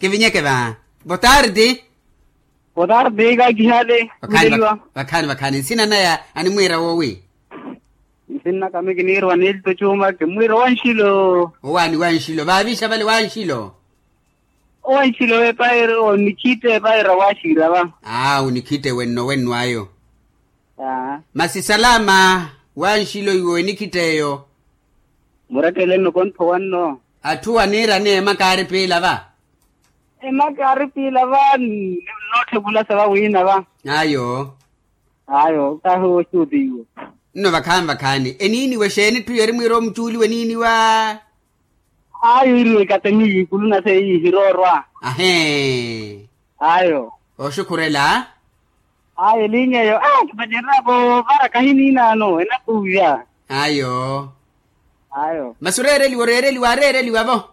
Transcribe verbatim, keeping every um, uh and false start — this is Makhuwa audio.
Kivinyeke va. Botardi. Botardi kakihale. Vakhaani vakhaani nsina naya animwiira woowi? Nsinna kami kiniirwa nilto cuma kimwiira wanxilo. Owaani wanxilo vaavixa vale wanxilo? Owanxilo epaira onikhite epaira waxiira va. Aa onikhite wenno wenno ayo. Masi salama. Wanxilo iwe onikhite eyo. Murettele nnokontho wanno. Atthu aniirani emaka aari piila va. Emaka aari piila va. Nootthevulasa va wiina va. Ayo. Ayo kahi oxuutiiwe. Nno vakhaani vakhaani eniiniwe exeeni etthu yeri mwiira omucuuliwe eniiniwa? Ayo iriwe ekatemiyi ikulu nase eyi hiroorwa. Ahee. Ayo. Oxukhurela. Ayo eliinyeyo a kipacererya voovara kahiniinaano enakuuvya. Ayo. Ayo. Masi oreereliwa oreereliwa areereliwa vo.